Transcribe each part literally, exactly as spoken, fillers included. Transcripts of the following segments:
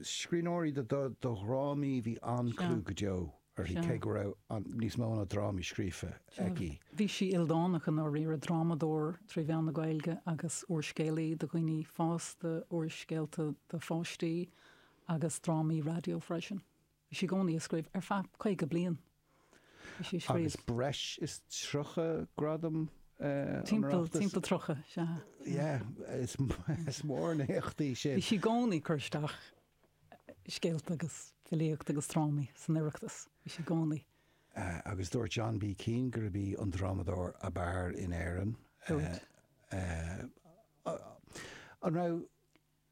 Scríbhneoirí do do dhrámaí, bhí an-chlú go deo uirthi, cé go raibh níos mó ná drámaí scríofa aici. Bhí sí ildánach i ndáiríre, drámadóir trí mheán na Gaeilge agus úrscéalaí do dhaoine fásta, úrscéalta do pháistí agus drámaí raidió freisin. Bhí sí i gcónaí ag scríobh ar feadh caoga bliain. Bhí sí ag scríobh. Agus breis is tríocha gradam an Timpeall Oireachtais. timpeall tríocha, sea. Yeah, is is mór an éacht í sin. Bhí sí i gcónaí ag cur isteach scéalta agus filíocht agus drámaí san Oireachtas. Bhí sí i gcónaí. Agus dúirt John B. Keane gurb í an drámadóir ab fhearr in Éirinn. Dúirt. An raibh,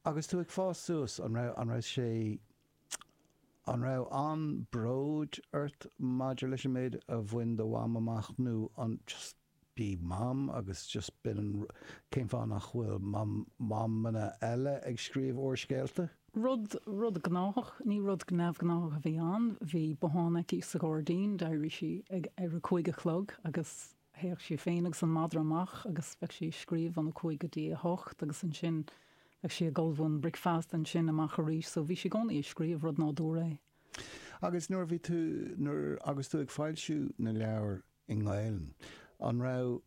agus tú ag fás suas, an raibh, an raibh sé, an raibh an-bhród ort maidir leis an méid a bhain do mham amach nó an just b'í mam agus just b'in an, cén fáth nach bhfuil mam, mamanna eile ag scríobh úrscéalta? Rud, rud gnáthach, ní rud neamhghnách a bhí ann. Bhí bothán aici sa ghairdín, d'éirigh sí ag ar a cúig a chlog agus théadh sí féin agus an madra amach agus bheadh sí ag scríobh óna cúig go dtí a hocht agus ansin bheadh sí ag ullmhú an bricfeasta, ansin amach arís. So bhí sí i gcónaí ag scríobh, rud nádúrtha é. Agus nuair a bhí tú, nuair, agus tú ag foilsiú na leabhar i nGaelainn, an raibh,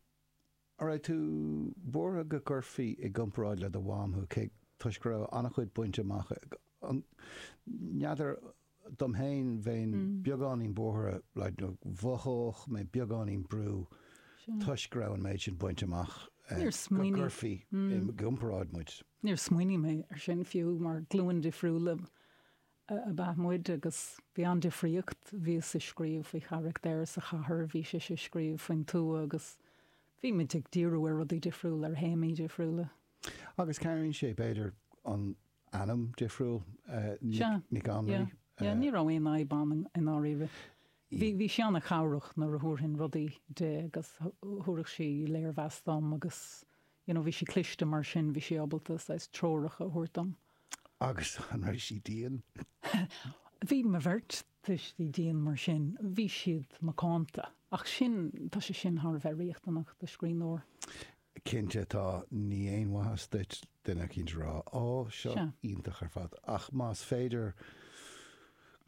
an raibh tú buartha go gcuirfí i gcomparáid le do mham thú, cé, toisc go raibh an-chuid bainte amach ag, an, n'fheadar, dom féin bheinn beagáinín buartha, like, nó mhothódh mé beagáinín brú toisc go raibh an méid sin bainte amach Níor go smaoinigh, gcuirfí i gcomparáid muid. Níor smaoinigh mé ar sin fiú mar glúin difriúla ab ea muid agus bhí an-difríocht. Bhíos ag scríobh faoi charachtair sa chathair, bhí sise ag scríobh faoin tuath agus bhí muid ag díriú ar rudaí difriúla, ar théamaí difriúla. Agus cabhraíonn sé, b'fhéidir, an ainm difriúil, Sea, Nic yeah, Annraoi. yeah, ní raibh aon fhadhb ann i ndáiríre. Bhí, bhí sí an-chabhrach nuair a thabharfainn rudaí di agus thabharfadh sí léirmheas dom agus, you know, bhí sí cliste mar sin, bhí sí ábalta saghas treoracha a thabhairt dom. Agus an raibh sí dian? Bhí mo bheirt tuistí dian mar sin, bhí siad macánta. Ach sin, tá sé sin thar a bheith riachtanach do scríbhneoir. Cinnte tá, ní aon mhaitheas duit duine eicínt a rá, Ó, seo Sea. iontach ar fad. Ach más féidir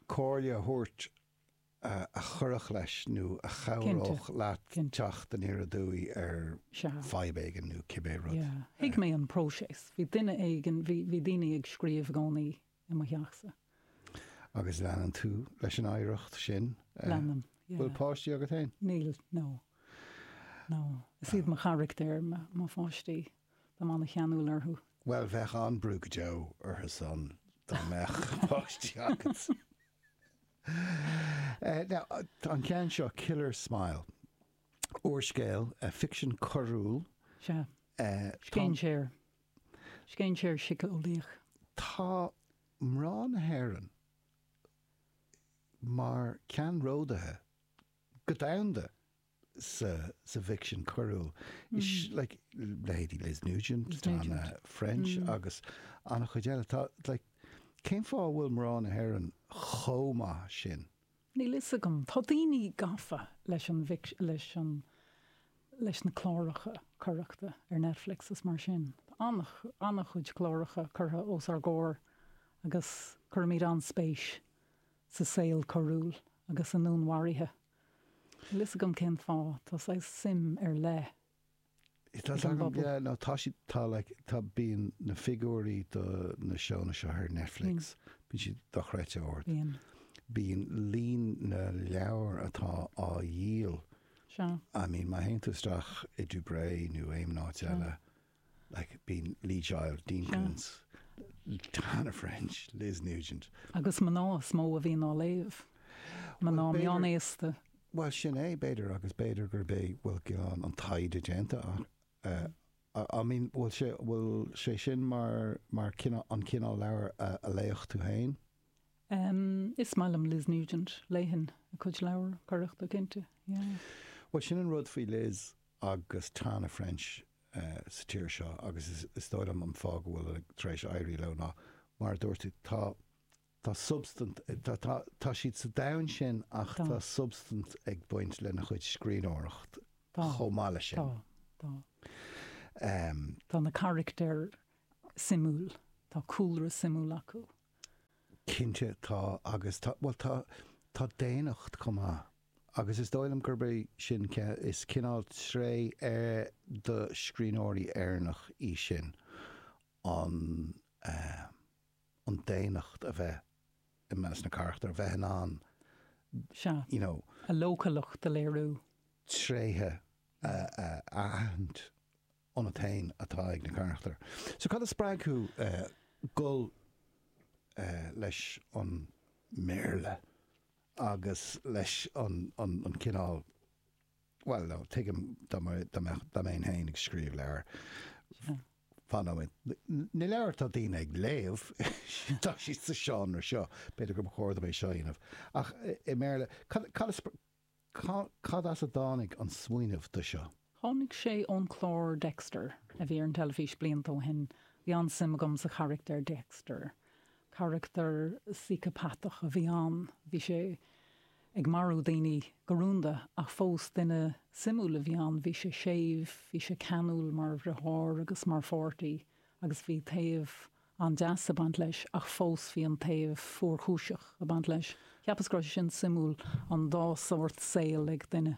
comhairle a thabhairt a chuirfeadh leis nó a Cinnte, chabhródh leat cinnte. teacht aniar aduaidh ar Sea. fadhb éigin nó cibé rud. Yeah. Thuig mé an próiseas. Bhí duine éigin, bhí, bhí daoine ag scríobh i gcónaí i mo theachsa. Agus leanann tú leis an oidhreacht sin? Leanaim, yeah. Bhfuil páistí agat féin? Níl, no. No. Is iad mo charachtair, mo, mo pháistí. Táim an-cheanúil orthu. Bhuel, bheadh an-brú go deo orthu san dá mbeadh páistí agat. Now, an ceann seo, Killer Smile, úrscéal, ficsean coiriúil. Sea. Scéinséir. Scéinséir síceolaíoch. Tá mná na hÉireann mar ceannródaithe go domhanda sa sa bhficsean coiriúil. Is like leithéidí Liz Nugent, Liz Tana Nugent. French agus an-chuid eile. Tá like cén fáth a bhfuil mná na hÉireann chomh maith sin? Níl fhios agam. Tá daoine gafa leis an bhfic leis an leis na cláracha coireachta ar Netflix is mar sin. Tá an-chuid cláracha curtha os ár gcomhair agus cuirimid an-spéis sa saol coiriúil agus i ndúnmharuithe. Níl fhios agam cén fáth. Tá saghas suim ar leith Tá ag an agam, bpobal. yeah, no, tá siad, tá like, tá, bíonn na figiúirí do na seónna seo ar Netflix, bíonn siad dochreidte ard. Bíonn. Bíonn líon na leabhar atá á dhíol, Sea. I mean, má théann tú isteach i Dubray nó aon áit Sea. eile, like, bíonn Lee Child, Dean Sea. Koontz, Tana French, Liz Nugent. Agus mná is mó a bhíonn á léamh. Mná Bhuel, b'fhéidir- meánaosta. Bhuel, sin é, b'fhéidir, agus b'fhéidir gurb é, bhuel, cineál an taighde déanta ach, uh, I I mean, bhfuil sé, bhfuil sé sin mar, mar cineál, an cineál leabhar a, a léifeadh tú féin? Um, is maith liom Liz Nugent, léifinn a cuid leabhar coireachta cinnte. Yeah. Bhuel, sin an rud faoi Liz agus Tana French uh, sa tír seo agus is, is dóigh liom an fáth go bhfuil tar éis éirí leo ná mar a dúirt tú, tá tá substaint, tá, tá, tá siad sa domhan sin ach Tá. tá substaint ag baint lena chuid scríbhneoireacht Tá. chomh maith leis sin. Tá, tá. Um, Tá na carachtair suimiúil. Tá cúlra suimiúil acu. Cinnte tá agus tá well tá tá daonnacht chomh maith agus is dóigh liom gurb é sin is cineál tréith ar do scríbhneoirí Éireannach í sin an eh, an daonnacht a bheith i measc na carachtar, a bheith in ann Sea. you know, A leochaileacht a léiriú. tréithe a a aithint ionat féin atá ag na carachtair. So cad a spreag thú eh, dul eh, leis an mBéarla agus leis an, an, an cineál well no, tuigim dá mbeinn féin ag scríobh leabhar. Sea. Fan nóiméad. Na leabhair atá daoine ag léamh tá siad sa seánra seo, b'fhéidir gur chóir dom é seo a dhéanamh. Ach i mBéarla, cad, cad, a spr- ca- cad as a dtáinig an smaoineamh do seo? Tháinig sé ón clár Dexter a bhí ar an teilifís blianta ó shin. Bhí an-suim agam sa charachtar Dexter. Carachtar síceapatach a bhí ann. Bhí sé ag marú daoine go rúnda ach fós duine suimiúil a bhí ann. Bhí sé séimh, bhí sé ceanúil mar dheartháir agus mar pháirtí agus bhí taobh an-deas ag baint leis ach fós bhí an taobh fuarchúiseach ag baint leis. Cheapas go raibh sé sin suimiúil an dá sórt saoil ag duine.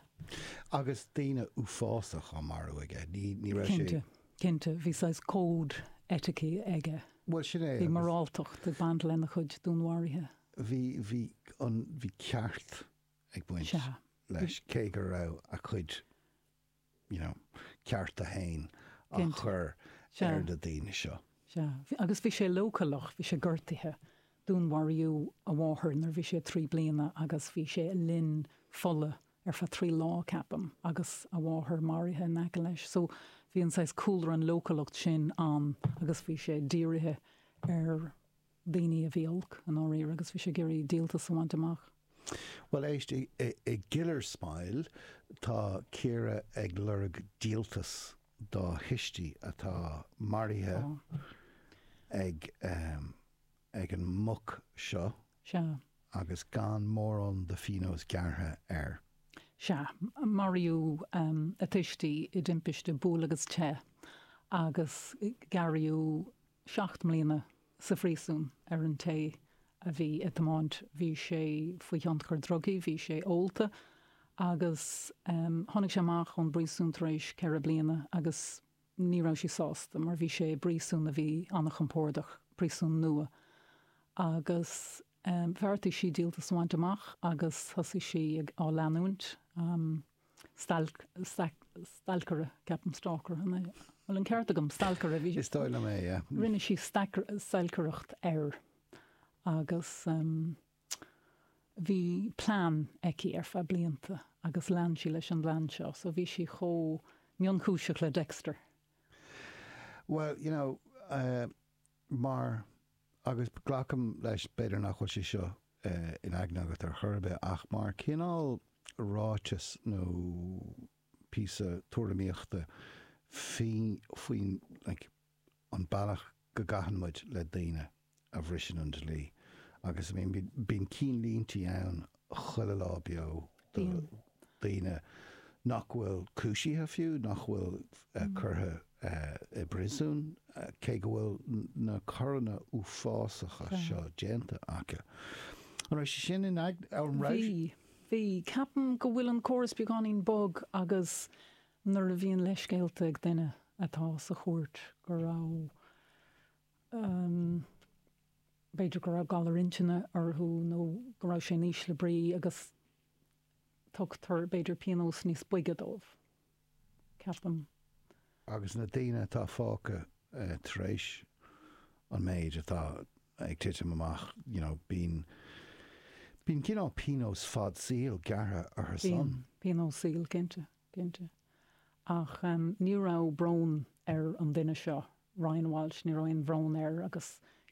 Agus daoine uafásach á marú aige, ní, ní raibh sé Cinnte, cinnte, bhí saghas cód eiticí aige. Bhuel sin é Bhí agus moráltacht ag baint lena chuid dúnmharuithe. bhí bhí an bhí ceart ag baint Sea. leis cé go raibh a chuid you know, cearta féin á Cinnte. chur Sea. ar na daoine seo. Sea. Bhí- Agus bhí sé leochaileach, bhí sé gortaithe. Dúnmharaíodh a mháthair nuair bhí sé trí bliana agus bhí sé i linn fola ar feadh trí lá ceapaim agus a mháthair maraithe in aice leis. So bhí an saghas cúlra an leochaileacht sin ann agus bhí sé dírithe ar daoine a bhí olc i ndáiríre agus bhí sé ag iarraidh díoltas a bhaint amach. Well éist i, i, i Giller Smile tá Ciara ag lorg díoltas dá thuistí atá maraithe Tá. ag um, ag an muc seo Sea. agus gan mórán de phionós gearrtha air. Sea, maraíodh um, a tuistí i dtimpiste buail agus teith agus gearradh seacht mbliana sa phríosún ar an té a bhí ag tiomáint. Bhí sé faoi thionchar drugaí, bhí sé ólta agus um, tháinig sé amach ón bpríosún tar éis ceithre bliana agus ní raibh sí sásta mar bhí sé i bpríosún a bhí an-chompordach, príosún nua. Agus um, bheartaigh sí díoltas a bhaint amach agus thosaigh sí ag á leanúint um, stalk, stalk, stalcaire, ceapaim stalker, an é? Bhfuil an ceart agam stalcaire bhí Is dóigh liom é, yeah. Rinne sí stalcaireacht air agus um, bhí plean aici ar feadh blianta agus lean sí leis an bplean seo, so bhí sí chomh mionchúiseach le Dexter. Well, you know, uh, mar agus glacaim leis b'fhéidir nach bhfuil sé seo uh, in aigne agat ar chor ar bith ach mar cineál ráiteas nó píosa tuairimíochta faoin faoin like, an bealach go gcaitheann muid le daoine a bhriseann an dlí. Agus I mean, bíonn cinnlínte ann chuile lá beo do Bíonn. daoine nach bhfuil cúisithe fiú, nach bhfuil uh, curtha uh, i bpríosún, uh, cé go bhfuil n- na coireanna uafásacha Sea. seo déanta acu. An raibh sé sin in ag an raibh Bhí, bhí ceapaim go bhfuil an córas beagáinín bog agus nuair a bhíonn leithscéalta ag duine atá sa chúirt go raibh um, b'fhéidir go raibh galar intinne orthu nó go raibh sé in ísle brí agus tugtar b'fhéidir pionós níos boige dóibh. Ceapaim. agus na daoine atá fágtha uh, tar éis an méid atá ag titim amach, you know, bíonn bíonn cineál pionós fad saoil gearrtha orthu Bíonn san. pionós saoil cinnte, cinnte. Ach um, ní raibh brón ar an duine seo, Ryan Walsh, ní raibh aon bhrón air agus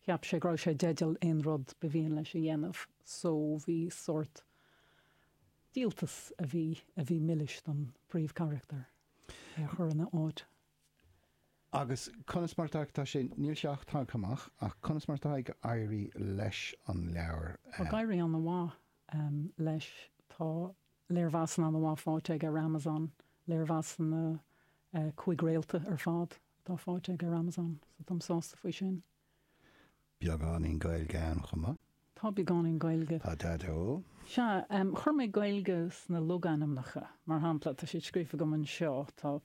cheap sé go raibh sé i dteideal aon rud ba mhian leis a dhéanamh, so bhí sórt díoltas a bhí a bhí milis don príomhcharachtar é a chur ina áit. Agus conas mar tá tá sé níl sé ach tagtha amach ach conas mar tá ag éirí leis an leabhar. Tá ag éirí an-mhaith um, leis tá léirmheasanna an-mhaith faighte aige ar Amazon, léirmheasanna uh, cúig réalta ar fad atá faighte aige ar Amazon, so táim sásta faoi sin. Beagáinín Gaeilge ann chomh maith. Tá beagáinín Gaeilge. Tá Daideo. Sea, chuir mé Gaeilge sna logainmneacha, mar shampla, tá siad scríofa agam anseo, tá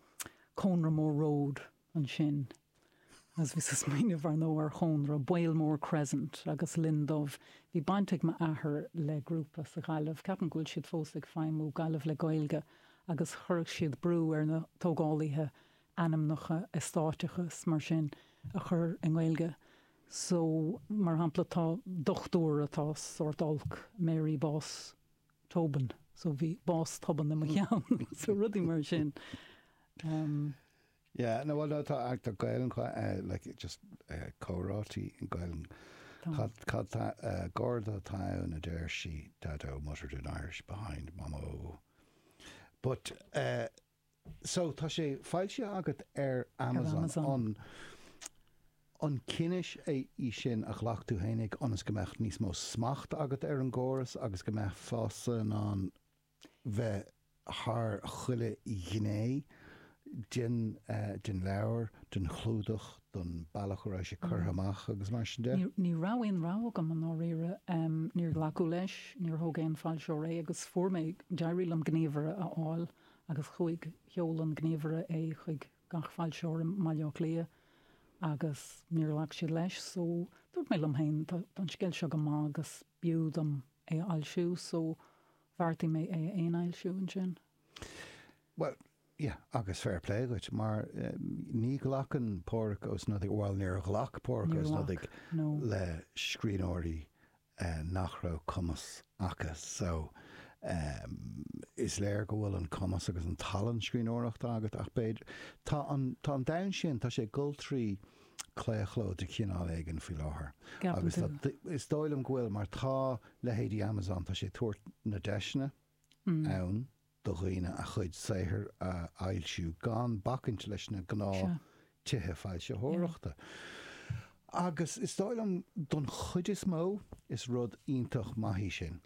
Cónra Mór Road ansin, agus bhíos ag smaoineamh ar ndóigh ar chónra, Baolmore Crescent agus Linn Dubh. Bhí baint ag m'athair le grúpa sa Ghaillimh, ceapaim go bhfuil siad fós ag feidhmiú, Gaillimh le Gaeilge, agus chuireadh siad brú ar na tógálaithe ainmneacha eastáiteacha is mar sin a chur i nGaeilge. So, mar shampla, tá dochtúir atá sórt olc, Mary Boss Tobin, so bhí bás tobann i mo cheann, so rudaí mar sin. Um, Yeah, no, well, no, tá tá Gaelainn uh, like just uh, comhráití in Gaelainn. Cad cad uh, Garda town a deir sí Dado muttered in Irish behind Mamo. But uh, so tá sé foilsithe agat ar Amazon, Amazon. an an cinneadh é í sin a ghlac tú fhéinig ionas go mbeadh níos mó smacht agat ar an gcóras agus go mbeifeása in ann bheith thar chuile ghné den uh, den leabhar, den chlúdach, don bealach a raibh sé curtha amach agus mar sin de. Ní, ní raibh aon rogha agam i ndáiríre, um, níor glacadh leis, níor thóg aon foilsitheoir é agus fuair mé d'éirigh liom gníomhaire a fháil agus chuaigh sheol an gníomhaire é chuig gach foilsitheoir i mBaile Átha Cliath agus níor ghlac siad leis, so dúirt mé liom féin tá tá an scéal seo go maith agus b'fhiú dom é a fhoilsiú, so bheartaigh mé é a fhéinfhoilsiú ansin. Well, yeah, agus fair play duit, mar um, ní ghlacann Pádraig Ó Snodaigh, well níor ghlac Pádraig Ó Níor Snodaigh ghlac, no. le scríbhneoirí uh, nach raibh cumas acu so um, is léir go bhfuil an cumas agus an tallann scríbhneoireachta agat ach b'fhéidir tá an tá an domhan sin tá sé ag dul trí claochló de chineál éigin faoi láthair. Ceapann Agus tú. tá- is dóigh liom go bhfuil mar tá leithéidí Amazon tá sé tabhairt na deiseanna Mm. ann do dhaoine a chuid saothair a fhoilsiú gan bacaint leis na gnáth Sea. tithe foilsitheoireachta. Agus is dóigh liom don chuid is mó is rud iontach maith í sin.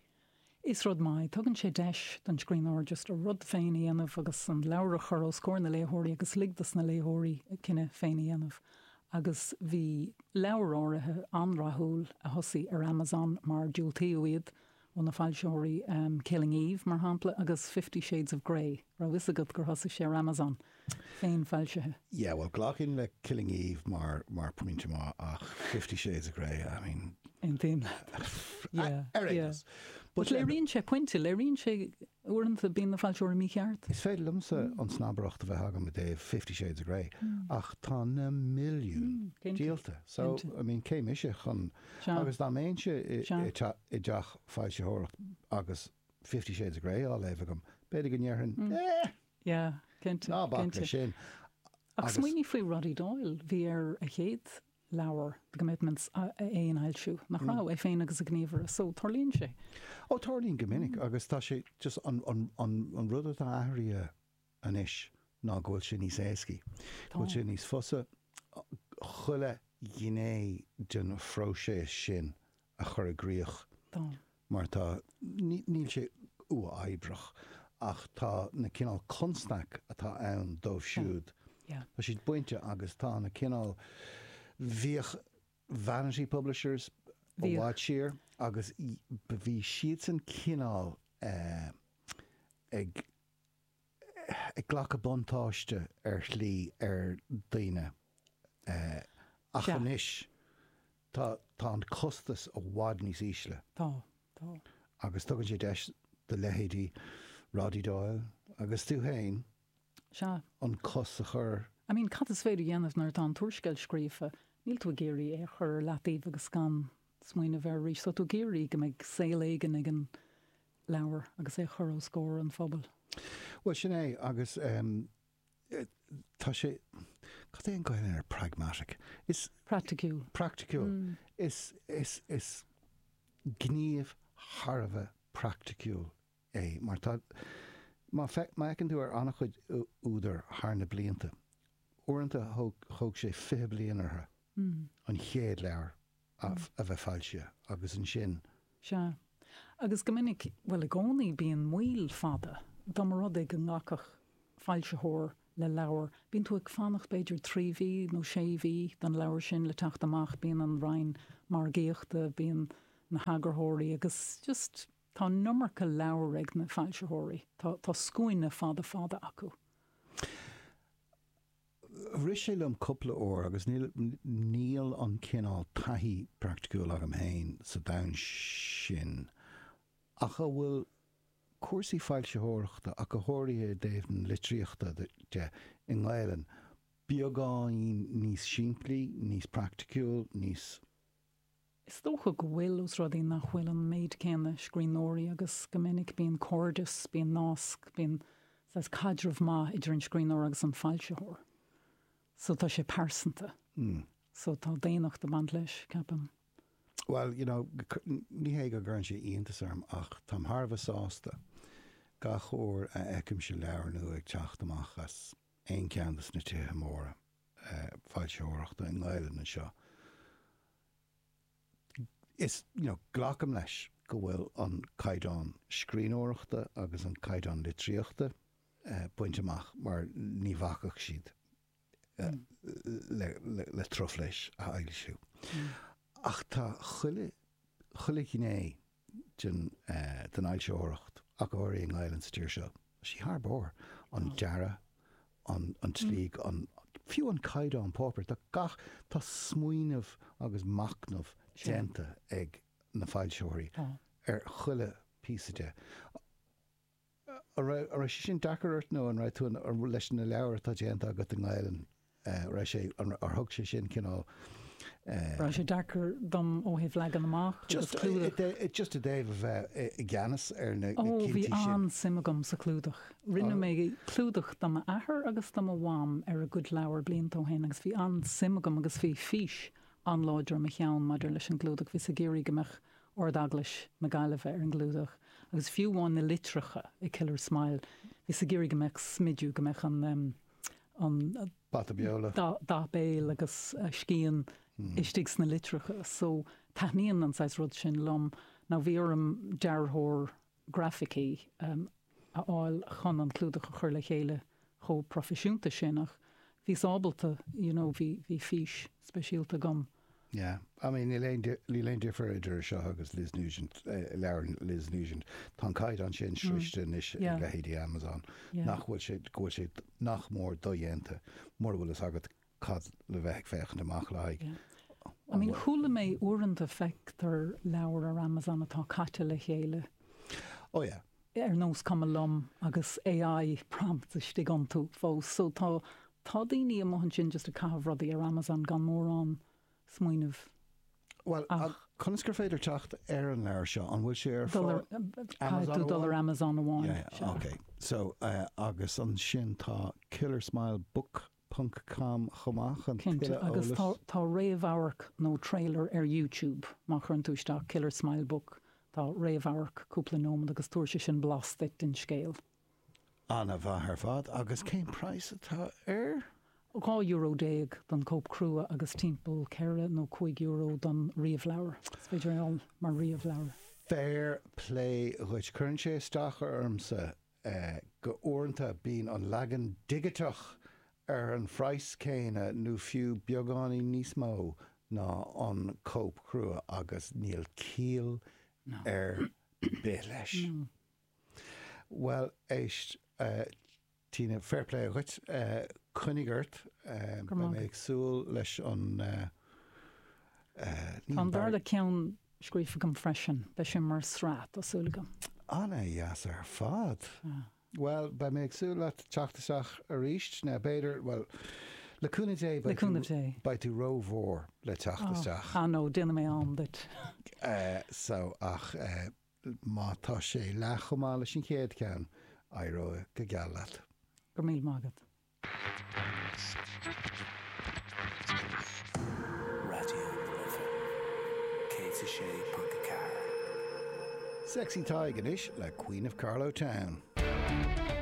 Is rud maith, tugann sé deis don scríbhneoir just a rud féin a dhéanamh agus an leabhar a chur os comhair na léitheoirí agus lig dos na léitheoirí a cinneadh féin a dhéanamh. Agus bhí leabhar áirithe an-rathúil a thosaigh ar Amazon mar diúltaíodh iad ó na foilsitheoirí um, Killing Eve mar shampla agus Fifty Shades of Grey, raibh fhios agat gur thosaigh sé ar Amazon féin foilsithe. Yeah, well glacaim le Killing Eve mar mar pointe maith ach Fifty Shades of Grey, I mean Aontaím Yeah, ar aon yeah. nós. But léiríonn sé pointe, léiríonn sé uaireanta bíonn na foilsitheoirí mícheart. Is féidir liomsa an snobaireacht a bheith agam i dtaobh Fifty Shades of Grey ach tá na milliún cinnte, díolta. So cinnte. I mean cé mise chun Sea. agus dá mbeinnse i- Sea. i te- i dteach foilsitheoireacht agus Fifty Shades of Grey á léamh agam. B'fhéidir go ndéarfainn eh, Yeah, cinnte. ná bac cinnte. le sin. Ach Agus- smaoinigh faoi Roddy Doyle, bhí air a chéad leabhar The Commitments a a fhéinfhoilsiú, nach raibh é féin agus a ghníomhaire, so tarlaíonn sé. Ó tarlaíonn go minic agus tá sé just an, an, an, an rud atá athraithe anois ná go bhfuil sé níos éascaí. Go bhfuil sé níos fusa chuile ghné den phróiseas sin a chur i gcrích Tá. mar tá ní- níl sé uathoibríoch ach tá na cineál constaic atá ann dóibh siúd. Yeah. Tá siad bainte agus tá na cineál bhíodh vanity publishers ó Bhíodh. bhfad siar agus i- bhí siad san cineál eh, ag ag glacadh buntáiste ar shlí ar daoine eh, ach Sea. anois tá tá an costas i bhfad níos ísle Tá, tá. agus tugann sé deis do leithéidí Roddy Doyle agus tú féin Sea. an cos a chur I mean, cad is féidir a dhéanamh nuair atá an t-úrscéal scríofa, níl tú ag iarraidh é a chur ar leataobh agus gan smaoineamh air arís, so tú ag iarraidh go mbeidh saol éigin ag an leabhar agus é a chur os comhair an phobail. Well sin é agus um, tá sé cad é an Gaeilge ar pragmatic. Is Praiticiúil. praiticiúil. Is is is gníomh thar a bheith praiticiúil é mar tá má fe má fheiceann tú ar an-chuid ú- údar thar na blianta. Uaireanta thóg thóg sé fiche bliain orthu an chéad leabhar a, a bheith foilsithe agus ansin Sea. Agus go minic well i gcónaí bíonn moill fada, dá mba rud é go nglacfadh foilsitheoir le leabhar, bíonn tú ag fanacht b'fhéidir trí mhí nó sé mhí don leabhar sin le teacht amach, bíonn an roinn margaíochta, bíonn na heagarthóirí agus just tá an iomarca leabhar ag na foilsitheoirí. Tá tá scuaine fada fada acu. Rith sé liom cúpla uair agus níl níl an cineál taithí praiticiúil agam féin sa domhan sin ach an bhfuil cúrsaí foilsitheoireachta ach go háirithe i dtaobh na litríochta de i nGaelainn beagáinín níos simplí, níos praiticiúil, níos. Is dócha go bhfuil, os rud é nach bhfuil an méid céanna scríbhneoirí agus go minic bíonn cairdeas, bíonn nasc, bíonn saghas caidreamh maith idir an scríbhneoir agus an foilsitheoir. So tá sé pearsanta. So tá daonnacht ag baint leis, ceapaim. Well, you know, ní hé go gcuireann sé iontas orm ach táim thar a bheith sásta gach uair a fheicimse leabhar nua ag teacht amach as aon cheann de na tithe móra foilsitheoireachta i nGaelainn anseo. Is, you know, glacaim leis go bhfuil an caighdeán scríbhneoireachta agus an caighdeán litríochta bainte amach mar ní bhacfadh siad le, le, le truflais a fhoilsiú. Ach tá chuile, chuile ghné den, den fhoilsitheoireacht, ach go háirithe i nGaelainn sa tír seo, tá sí thar barr. An dearadh, an, an tslí, an, fiú an caighdeán páipéir, tá gach, tá smaoineamh agus machnamh déanta ag na foilsitheoirí ar chuile phíosa de. An raibh, an raibh sé sin deacair ort nó an raibh tú leis na leabhair atá déanta agat i nGaelainn, an raibh sé, ar thug sé sin cineál. Raibh sé deacair dom ó thaobh leagan amach agus Just, clúdach? just i dtaobh a bheith i gceannas ar na Ó, bhí cinntí sin. an-suim agam sa chlúdach. Rinne mé clúdach do m'athair agus do mo mham ar a gcuid leabhar blianta ó shin agus bhí an-suim agam agus bhí fís an-láidir i mo cheann maidir leis an gclúdach. Bhíos ag iarraidh go mbeadh Ard-Eaglais na Gaillimhe ar an gclúdach agus fiú amháin na litreacha i Killer Smile, bhíos ag iarraidh go mbeadh smidiú, go mbeadh an an Bata beola. dath béil agus scian istigh sna litreacha. So taitníonn an saghas rud sin liom. Now bhí orm dearthóir grafaicí a fháil chun an clúdach a chur le chéile chomh proifisiúnta sin ach bhíos ábalta, you know, bhí bhí fís speisialta agam. Yeah, I mean níl aon níl aon difear idir seo agus Liz Nugent, leabhar Liz Nugent. Tá an caighdeán sin sroichte anois ag leithéidí Amazon nach bhfuil sé go bhfuil sé nach mór dodhéanta mura bhfuil fhios agat cad le bheith ag féachaint amach le haghaidh. I mean chuala mé uaireanta feictear leabhar ar Amazon atá caite le chéile. Oh yeah. Ar nós cuma liom agus AI prompts istigh iontu fós. So tá tá daoine amuigh ansin just ag caitheamh rudaí ar Amazon gan mórán smaoineamh. Well, conas gur féidir teacht ar an leabhar seo, an bhfuil sé ar fáil? Caithfidh tú dul ar Amazon amháin. Yeah, yeah, okay. So, uh, agus ansin tá killersmilebook ponc com chomh maith chun Cinnte, tuilleadh agus eolais. tá tá réamhamharc nó trailer ar YouTube má chuireann tú isteach Killer Smile Book, tá réamhamharc cúpla nóiméad agus tabharfaidh sé sin blas duit den scéal. Ana-mhaith ar fad. Agus cén praghas atá air? Dhá euro déag don cóip crua agus timpeall ceithre nó cúig euro don ríomhleabhar. Is féidir é a fháil mar ríomhleabhar. Fair play dhuit. Cuireann sé isteach ormsa go uaireanta bíonn an leagan digiteach ar an phraghas céanna nó fiú beagáinín níos mó ná an cóip chrua agus níl ciall ar bith leis. Bhuel, éist, Tina, fair play dhuit. Coinnigh ort. Beidh mé ag súil leis an. Tá an darna ceann scríofa agam freisin. Beidh sé mar sraith, tá súil agam. Ana-dheas ar fad. Bhuel, beidh mé ag súil leat teacht isteach arís. Nó b'fhéidir, bhuel, le cúnamh Dé, Le cúnamh Dé. beidh tú rómhór le teacht isteach. Ah no, déanfaidh mé am duit. So, ach má tá sé leath chomh maith leis an chéad cheann, éireoidh go geal leat. Go raibh míle maith agat. Raidió na Life céad a sé ponc a ceathair. Sexy Tadhg anois le Queen of Carlow Town.